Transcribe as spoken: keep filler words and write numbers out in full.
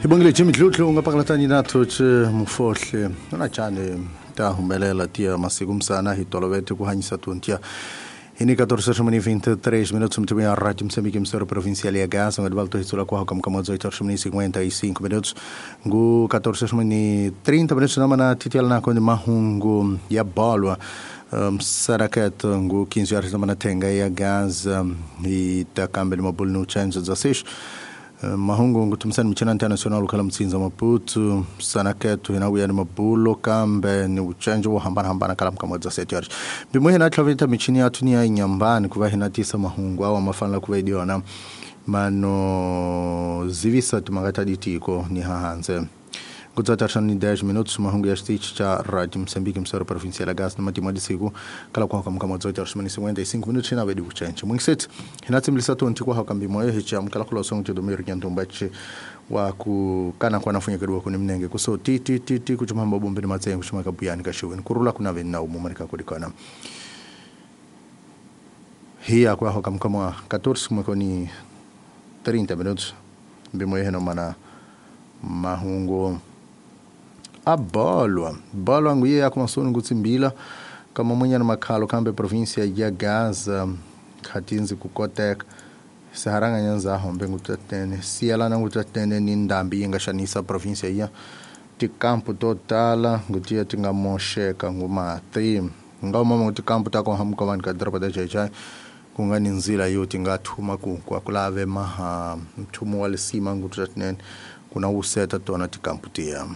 Hi bongile Jimmy Dludlu nga pakalatani na thoche mufohle na chane ta humelela tia masiku msana hi tolovete ku hanyisa tuntia Ini quatorze horas e vinte e três minutos, muito bem, a Rádio Moçambique, emissora provincial e Gaza, um advalto ritsula com a como dezoito horas e cinquenta e cinco minutos, go quatorze horas e trinta minutos, na mana titial na konde mahungu ya balwa, um, saraket go quinze horas da mana tenga ya Gaza e takambe mabul no change dezesseis. Mahungu ngutumsani mchana international kala mtsinza Maputo sanaketu hina ni mabulo kambe ni uchenjo wa hambana hambana kala mkama dezessete horas bimwe hina tlavita michini yatu ni ya inyambani kuva hina tisa mahungu awa mafana kuva idiona mano zivisa tumagata ditiko ni hahanze Kudzatashani dez minutos mahungu ya stich cha Rádio Moçambique emissora provincial Gaza numa timadi siku kala kwa kama dezoito horas e cinquenta e cinco minutos na vedi uchenche mwingiset hinatimlisa tonti kwa hakambi moyo hicha mkala kula songo tudomiro nyantumbachi wa kukana kwa nafunya kedwa kuni mnenge kuso ti ti ti ti kuchumamba bombe ni matsengo kuchuma kabuyani kashuweni kurula kuna vena umumarika kulikana hiya kwa hakam kama quatorze mwekoni trinta minutos bimoyo heno mana mahungu abalwa balwa nguye yakumasoni ngutsimbila kama mwenye na makhalo kambe província ya Gaza khatinzi kukoteka saharanga nyanza hombe ngutatene siyalana ngutatene ni ndambi yingashanisa província ya tikampu totala ngutiya tingamosheka ngumati ngawumama nguti kampu tako hamuka vanhu ka doroba ta Xai-Xai kunga ni nzila yo tingathuma ku kwakulave maha mthumo wa lisima ngutatinene kuna wuseta tona tikampu tiya.